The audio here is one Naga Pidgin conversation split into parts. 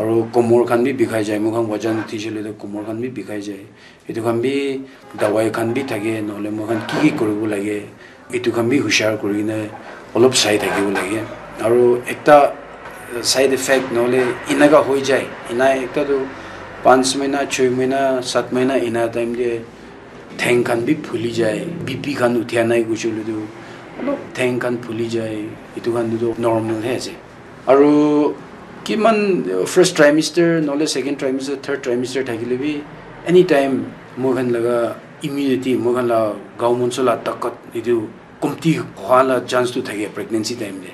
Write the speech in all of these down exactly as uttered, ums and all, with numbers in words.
Aru komor khan bi bikhai jai, moikhan wajan uthi shele toh komor khan bi bikhai jai. Etu khan bi dawai khan bi thake, nohole moikhan ki ki kuribo lage, etu khan bi hushar kurikena olop sai thakibo lage. Aru ekta side effect nohole enaka hoi jai, ena ekta tu panch mahina, choi mahina, sat mahina ena time te theng khan bi phuli jai, B P khan uthia nai koishe koile tu olop theng khan phuli jai, etu khan tu normal he ase. Aru kiman, uh, first trimester nohole second trimester, third trimester thakile bi anytime moikhan laga immunity, moikhan la gao monso la takat etu komti hwa la chance tu thake pregnancy time te.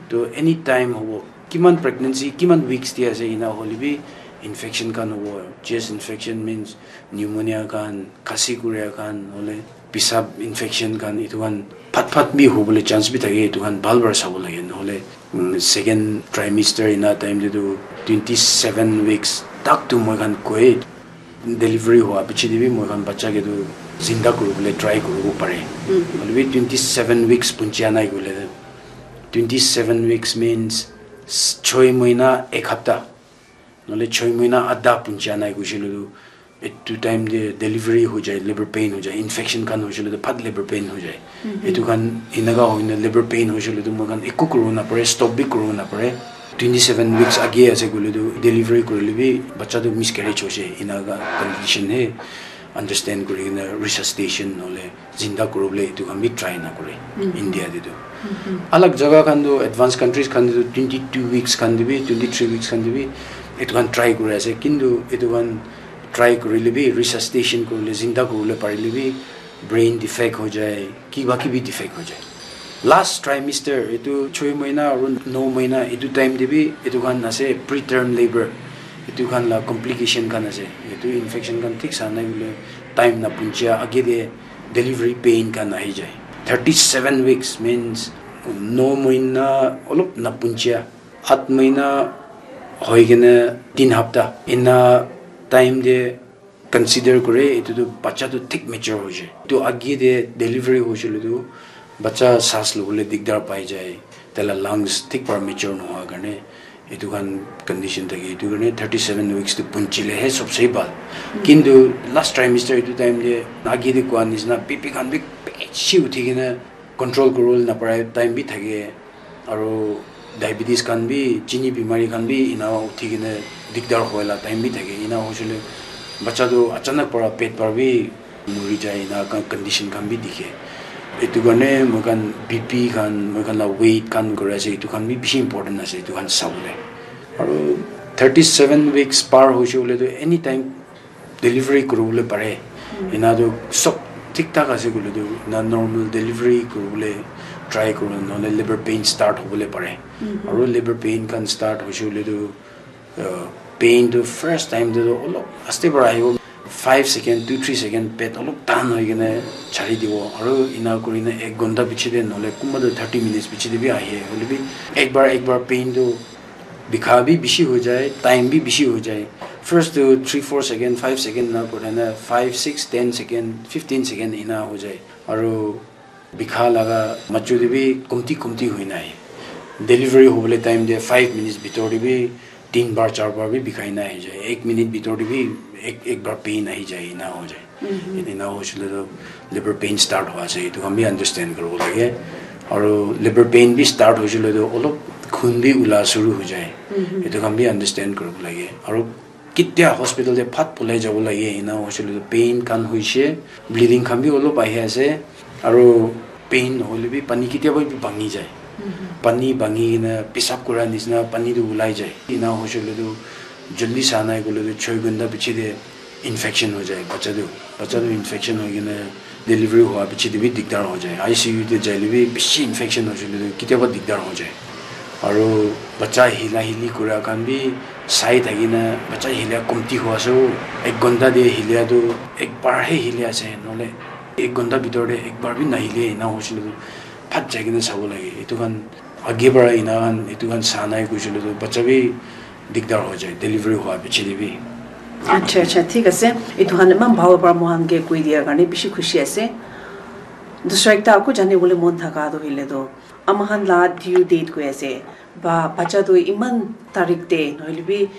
To anytime hobo, kiman pregnancy kiman weeks te ase ena hole bi infection khan hobo. Chest infection means pneumonia khan, khasi kuria khan, nohole pisap infection khan, etu khan phat phat bi hobole chance bi thake, etu khan bhal para sabo lage. Nohole, mm, second trimester ena time te tu twenty seven weeks tak tu moikhan koi, delivery hua piche te bi moikhan bacha ke tu zinda kuribole try kuribo pare. Hoile bi twenty seven weeks punchia nai koile, twenty seven weeks means s- choi mahina ek hapta, nohole choi mahina adha punchia nai koishe koile tu, etu time te delivery ho jai, labor pain ho jai, infection khan hoishe koile tu phat labor pain ho jai. Etu khan enaka hoina labor pain hoishe koile tu moikhan eku kuribo napare, stop bi kuribo napare. Twenty seven weeks age ase koile tu delivery kurile bi bacha tu miscarriage hoishe, enaka condition he understand kurikena resuscitation nohole zinda kuribole etu khan bi try nakore India te tu. Alag jaga khan tu, advanced countries khan te tu twenty two weeks khan te bi, twenty three weeks khan te bi etu khan try kuri ase. Kintu etu khan try kurile bi, resuscitation kurile, zinda kuribole parile bi, brain defect ho jai, kiba kibi defect ho jai. Last trimester, etu choi mahina aru no mahina, etu time te bi etu khan ase preterm labor, etu khan la complication khan ase. Etu infection khan thik sa nai koile time na punchia age te delivery pain khan ahi jai. Thirty seven weeks means no mahina olop na punchia, at mahina hoi kena tin hapta ena time te consider kore, etu tu bacha tu thik mature hoishe. Etu age te delivery hoishe koile tu bacha saas lobole digdar pai jai, taila lungs thik para mature nohoi karne etu khan condition thake. Etu karne thirty seven weeks tu punchile he sobse bhal. Kintu last trimester etu time te age te koa nishina B P khan bi bishi uthi kena control kuribole napare time bi thake, aru diabetes khan bi, chini bimari khan bi ena uthi kena digdar hoi la time bi thake. Ena hoishe koile bacha tu achanak para pet para bi muri jai, ena khan condition khan bi dikhe. Etu karne moikhan B P khan, moikhan la weight khan kuri ase, etu khan bi bishi important ase, etu khan sabole. Aru thirty seven weeks par hoishe koile tu anytime delivery kuribole pare. Ena tu sob thik thak ase koile tu, ena normal delivery kuribole try kuribo, nohole labor pain start hobole pare. Aru labor pain khan start hoishe koile tu, uh, pain tu first time te tu olop aste para ahibo, five second, two three second pet olop tan hoi kena chari dibo. Aru ena kurina ek ghonta piche te nohole kunba tu thirty minutes piche te bi ahe, hoile bi ek bar ek bar pain tu bikha bi bishi ho jai, time bi bishi ho jai. First tu three four second, five second na kore na five six ten second, fifteen second ena ho jai. Aru bikha laga machu te bi komti komti hoi nai. Delivery hobole time te five minutes bitor te bi tin bar char bar bi bikhai na ahi jai. Ek minute bitor te bi ek, ek bar pain ahi jai, ena ho jai. Ena hoishe koile tu labor pain start hua ase, etu khan bi understand kuribo lage. Aru labor pain bi start hoishe koile tu olop khun bi ula shuru ho jai. Etu khan bi understand kuribo lage. Aru ketia hospital te phat polai jabo lage, ena hoishe koile tu pain khan hoishe, bleeding khan bi olop ahi ase. Aru pain hoile bi pani ketia ba bi bhangi jai. Pani bhangi kena pisap kura nishina pani tu ulai jai. Ena hoishe koile tu jaldi sa nai koile tu choi ghonta piche te infection ho jai bacha tu. Bacha tu infection hoi kena delivery hua piche te bi digdar ho jai. I C U te jaile bi bishi infection hoishe koile tu ketia ba digdar ho jai. Aru bacha hila hili kura khan bi sai thaki na, bacha hila komti hua ase o. Ek ghonta te hila tu ek bar he hili ase, nohole ek ghonta bitor te ek bar bi nahile, ena hoishe koile tu phat jai kena sabo lage. Etu khan age para ena khan, etu khan sa nai koishe koile tu bacha bi digdar ho jai, delivery hua piche te bi. Acha, acha, thik ase. Etu khan eman bhal para moikhan ke koi dia karne bishi khushi ase. Dusra ekta aku jane bole mon thaka tu hoile tu, ama khan la due date koi ase. Ba, bacha tu iman tarik te, nohole bi